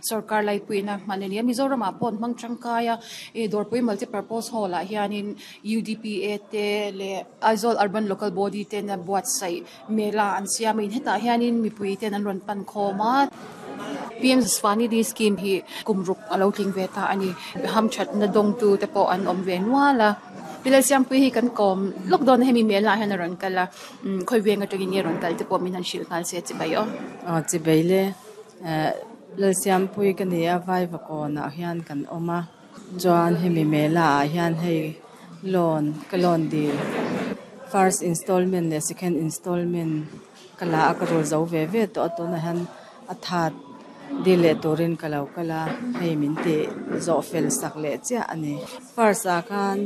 Sorkar laipuina hman a ni a, Mizoramah pawh an hmang tangkai a, ih Dawrpui Multipurpose Hall ah hianin UDPA te leh Aizawl Urban Local Body ten a buatsaih mela an siam a, in hetah hianin mipui ten an rawn pan khawm a. PM Svanidhi scheme hi kum ruk a lo tling ve ta a ni, hamthatna dawngtu te pawh an awm ve nual a. Pi Lalsiampuii hi kan kawm lawk dawn a, hemi mela ah hian a rawn kal a, khawi veng atangin nge rawn kal te pawh min han hrilh nghal se chibai aw. Aw chibai le. Eh Lalsiampuii ka ni a, Vaivakawnah hian kan awm a, chuan hemi mela ah hian hei loan ka loan dil first installment leh second installment ka la a, ka rul zo ve ve tawh a, tunah hian a that dil leh turin ka lo kal a, hei min tih zawh fel sak leh chiah a ni. First ah khan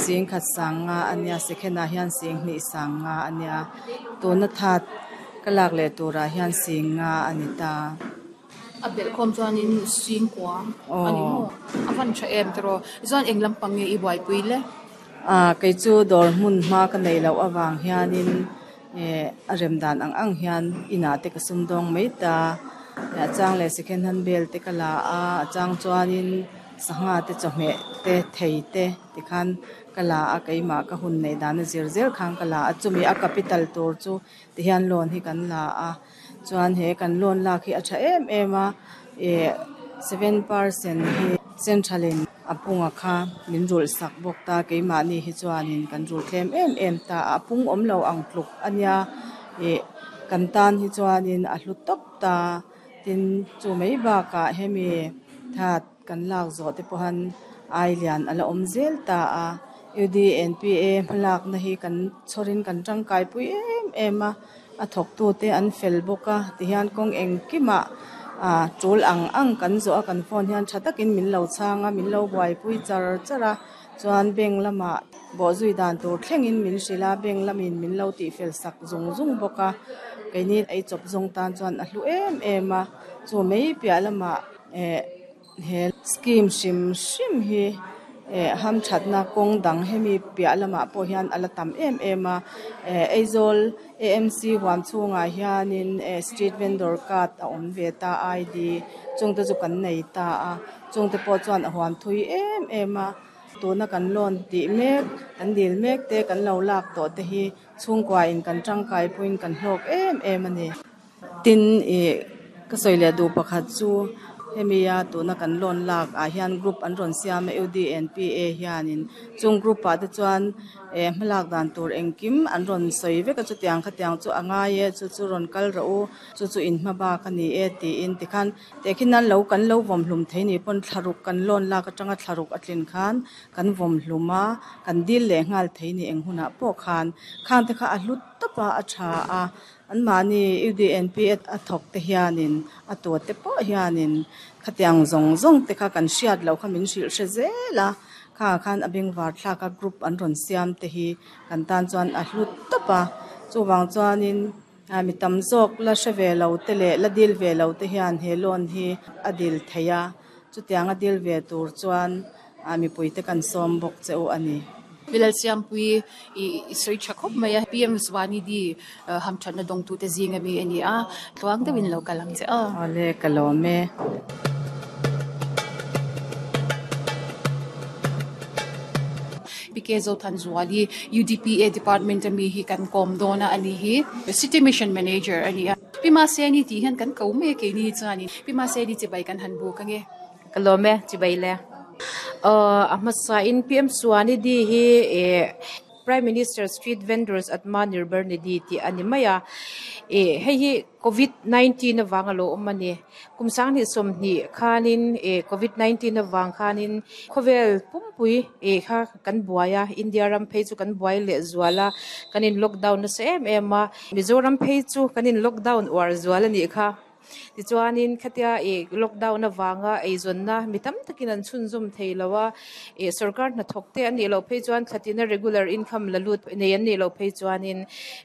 sing khat sang nga a nia, second ah hian sing hnih sang nga a nia, tuna that ka lak leh turah hian sing nga a ni ta. A belh khawm chuanin sing kua a ni maw? A van tha em tiraw? Chuan eng lampang nge i buaipui le? Ah kei chu dawr hmun hma ka neih loh avang hianin eh a rem dan ang ang hian inah te ka sum dawng mai ta. A chang leh second hand bel te ka la a, a chang chuanin Sangha te chawhmeh te thei te tikhan ka la a, keimah ka hun neih dan a zir zel khan ka la a, chumi a capital tur chu tihian loan hi kan la a, chuan he kan loan lak hi a tha em em a, ih 7 percent hi central in a punga kha min rulh sak bawk ta, keimahni hi chuanin kan rulh tlem em em ta a, a pung awm lo ang tluk a nia, ih kan tan hi chuanin a hlu tawp ta. Tin, chu mai bakah hemi that kan lak zawh te pawhan ai lian a la awm zel ta a, UDNPA hmalakna hi kan chhawrin kan tangkaipui em em a, a thawktute an fel bawk a, tihian kawng engkimah ah tul ang ang kan zawh a kan phone hian tha takin min lo chhang a, min lo buaipui char char a, chuan bank lamah bawhzui dan tur thlengin min hrilh a, bank lamin min lo tihfel sak zung zung bawk a, keini ei chawp zawng tan chuan a hlu em em a, chu mai piah lamah eh he scheme hrim hrim hi eh hamthatna kawng dang hemi piah lamah pawh hian a la tam em em a, eh Aizawl AMC huam chhungah hianin eh street vendor card a awm ve ta ID chungte chu kan nei ta a. Chungte pawh chuan a huam thui em em a, tuna kan loan tih mek, kan dil mek te, kan lo lak tawh te hi chhungkuain kan tangkai puiin kan hlawk em em a ni. Tin, ih ka sawi leh duh pakhat chu hemi a tuna kan loan lak ah hian group an rawn siam a UDNPA hianin chung group ah te chuan eh hmalak dan tur engkim an rawn sawi vek a, chutiang khatiang chu a ngai e, chu chu rawn kal rawh u, chu chu in hma bak a ni e tiin tikhan Tehkhin nan lo kan lo vawm hlum thei ni pawn thlaruk kan loan lak atanga thlaruk a tlin khan kan vawm hlum a, kan dil leh nghal thei ni eng hunah pawh khan khang te kha a hlu tawp a, a tha a, anmahni UDNP a thawk te hianin a tuat te pawh hianin khatiang zawng zawng te kha kan hriat loh kha min hrilh hre zel a, khangah khan a bengvar thlak a group an rawn siam te hi kan tan chuan a hlu tawp a, chuvang chuanin. Mi tam zawk la hre ve lo te leh la dil ve lo te hian he loan hi a dil thei a, chutiang a dil ve tur chuan mipui te kan sawm bawk che u a ni. Pi Lalsiampui i sawi tha khawp mai a, PM Svanidhi hamthatna dawngtute zing ami a ni a, tluang deuhin lo kal ang che aw. Awle, ka lawm e. Pi K Zothanzuali, UDPA Department ami hi kan kawm dawn a a ni hi. City Mission Manager a ni a. Pi Mahseni tih hian kan ko mai a keini hi chuanin Pi Mahseni chibai kan han buk ange. Ka lawm e, chibai le. Aw a hmasain PM Suanidhi hi eh Prime Minister Street Vendors Atmanirbhar Nidhi tih a ni mai a. Eh hei hi Covid 19 avang a lo awm a ni. Kum 2020 khanin eh Covid 19 avang khanin khawvel pumpui eh kha kan buai a, India ram phei chu kan buai leh zual a, kan in lockdown nasa em em a, Mizoram phei chu kan in lockdown uar zual a nih kha. Tichuanin khatia ih lockdown avanga eizawnna mi tam takin an chhunzawm thei lo a, ih sorkar hnathawk te an nih loh phei chuan thlatina regular income la lut nei an nih loh phei chuanin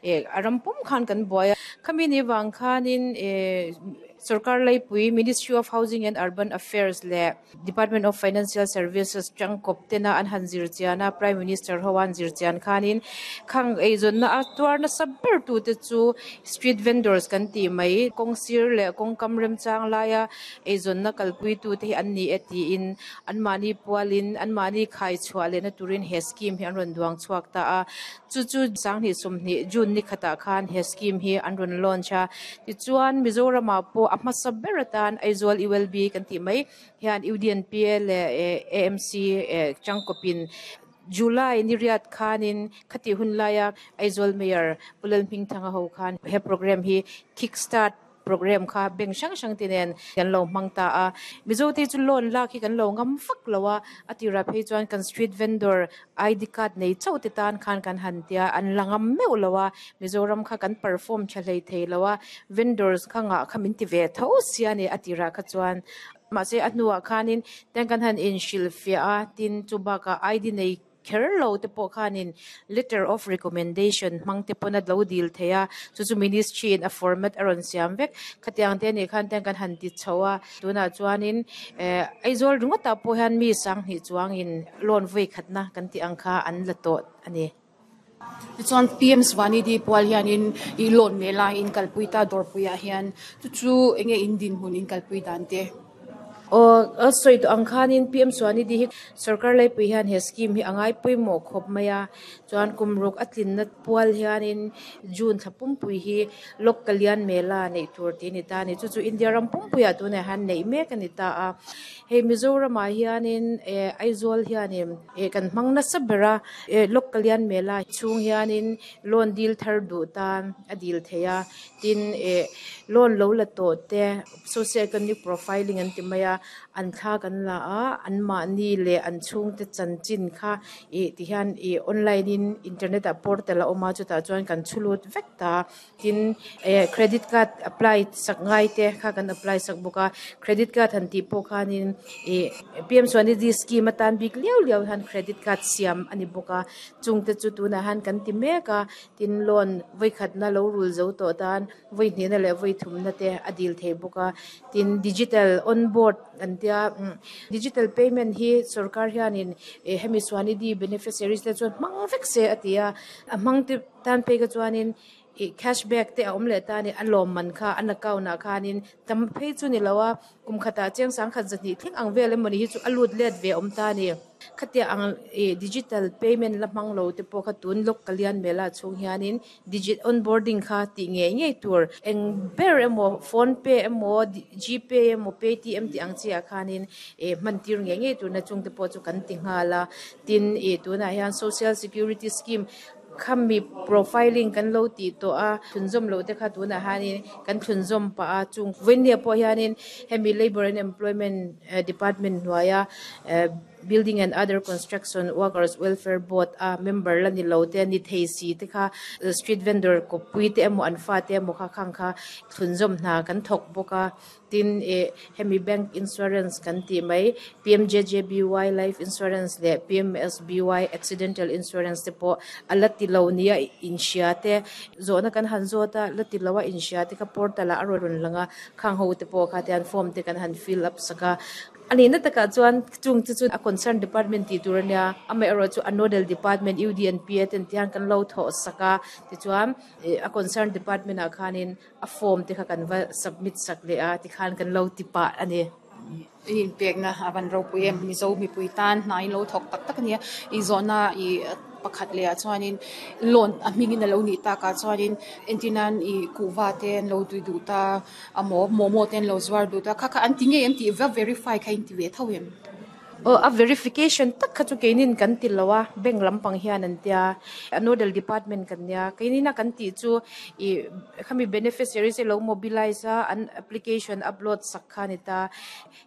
ih a ram pum khan kan buai a. Khami ni vang khanin ih. Sorkar laipui Ministry of Housing and Urban Affairs leh Department of Financial Services tangkawp tena an han zir chian a, Prime Minister ho an zir chian khanin khang eizawnna a tuar nasa ber tute chu street vendors kan tih mai, kawng sir leh kawngkam remchang laia eizawnna kalpui tute hi an ni e tiin anmahni pualin anmahni khai chhuah lehna turin he scheme hi an rawn duang chhuak ta a. Chu chu 2020 June ni khatah khan he scheme hi an rawn launch a. Tichuan Mizoramah pawh a hmasa ber atan Aizawl ULB kan tih mai hian UDNPA leh AMC tangkawpin July ni riat khanin khatih hun laia Aizawl Mayor Pu Lalhmingthanga ho khan he programme hi kick start Programme kha bank hrang hrang te nen kan lo hmang ta a, Mizo te chu loan lak hi kan lo ngam vak lo a, a tirah phei chuan kan street vendor ID card nei chauh te tan khan kan han tia, an la ngam meuh lo a, Mizoram kha kan perform tha hlei thei lo a, vendors kha ngah kha min ti ve tho sia a ni a tirah kha chuan. Mahse a hnuah khanin tiang kan han inhrilhfiah a, tin chu bakah ID nei Kher lo te pawh khanin letter of recommendation hmang te pawn a lo dil thei a, chu chu ministry in a format a rawn siam vek. Khatiang te anih khan tiang kan han ti chho a, tunah chuanin eh Aizawl ringawtah pawh hian mi sanghnih chuangin loan vawi khatna kan tih ang kha an la tawh a ni. Tichuan PM Svanidhi pual hianin ih loan meh laiin kalpui ta dawrpuiah hian chu chu enge in dinhmun in kalpui dan te? Aw, a sawi tawh ang khanin PM Swanidhi hi sorkar laipui hian he scheme hi a ngai pawimawh khawp mai a, chuan kum ruk a tlinna pual hianin June thla pumpui hi Lok Kalyan Mela neih tur tih a ni ta a ni. Chu chu India ram pumpuiah tunah hian neih mek a ni ta a. Hei Mizoramah hianin eh Aizawl hianin eh kan hmang nasa ber a, eh Lok Kalyan Mela chhung hianin loan dil thar duh tan a dil theih a, tin eh loan lo la tawh te, Socio economic profiling an ti mai a, an thla kan la a, anmahni leh an chhungte chanchin kha ih ti hian ih online in internet ah portal a awm a chutah chuan kan chhu lut vek ta tin eh credit card apply sak ngai te kha kan apply sak bawk a, credit card han tih pawh khanin ih P M Swanidhi scheme atan bik liau liau hian credit card siam a ni bawk a, chungte chu tunah hian kan ti mek a, tin loan vawikhatna lo rul zo tawh tan. Vawi hnihna leh vawi thumna te a dil thei bawk a, tin digital on board an tia digital payment hi sorkar hianin eh hemi Swanidhi beneficiaries te chuan hmang vek se a ti a, a hmang te tan phei kha chuanin ih cash back te a awm leh ta a ni, a lawmman kha an account ah khanin tam phei chu ni lo a, kum khatah chiang sangkhat zahnih thleng ang vel emawni hi chu a lut let ve awm ta a ni. Khatia ang ih digital payment la hmang lo te pawh kha tun lawk ka lian mel ah chhung hianin digit onboarding kha tih ngei ngei tur eng ber emaw phone pay emaw gpay emaw paytm tih ang chi ah khanin ih hman tir ngei ngei tur na chung te pawh chu kan ti nghal a tin ih tunah hian social security scheme khami profiling kan lo tih tawh a thlunzawm loh te kha tunah hianin kan thlunzawm pah a chung vawinia pawh hianin hemi labour and employment department hnuaia eh building and other construction workers welfare board a member la ni lo te ni thei si te kha street vendor kawppui te emaw an fate emaw kha khang kha thlunzawm hna kan thawk bawk a. Tin, ih hemi bank insurance kan tih mai PMJJBY life insurance leh PMSBY accidental insurance te pawh a la ti lo nia inhria te zawhna kan han zawt a, la ti lo a inhria te kha portal ah a rawn lang a, khang ho te pawh kha tian form te kan han fill up sak a. A nihna takah chuan chung te chu a concern department tih tur a nia, amaherawhchu a nodal department UDNPA ten tihian kan lo thawh sak a, tichuan ih a concern department ah khanin A form te kha kan va submit sak leh a tikhan kan lo ti pah a ni. I inpekna a van ropui em? Mizo mipui tan hna in lo thawk tak tak a nia. I zawhna i pakhat leh ah chuanin loan a hmingin a lo nih takah chuanin entirnan i kuhva te an lo tui duh ta a maw momo te an lo zuar duh ta kha kha an ti ngei em tih va verify kha in ti ve tho em? Aw a verification tak kha chu keinin kan ti lo a, bank lampang hian an tia, a nodal department kan nia, keinin a kan tih chu ih khami beneficiaries te lo mobilize a an application upload sak kha a ni ta,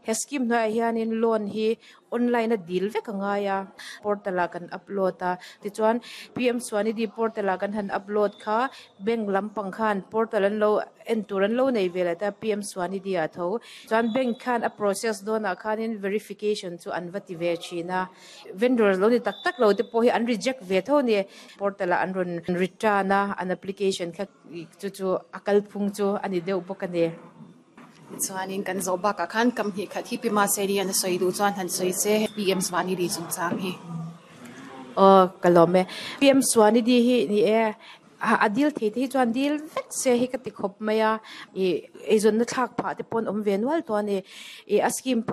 he scheme hnuaiah hianin loan hi online a dil vek a ngai a, portal ah kan upload a, tichuan P M Swanidhi portal ah kan han upload kha bank lampang khan portal an lo en tur an lo nei ve leh ta P M Swanidhi ah tho. Chuan bank khan a process dawnah khanin verification chu an va ti ve thin a, vendors lo ni tak tak lo te pawh hi an reject ve tho a ni. Portal ah an rawn return a, an application kha chu chu a kalphung chu a ni deuh bawk a ni. Tichuanin kan zawh bakah khan kam hnih khat hi Pi Maseli an a sawi duh chuan han sawi se PM Svanidhi chungchang hi. Aw ka lawm e. PM Swanidhi hi ni e, a dil thei te hi chuan dil vek se hi ka ti khawp mai a, ih eizawnna thlak phah te pawh an awm ve nual tawh a ni. Ih a scheme.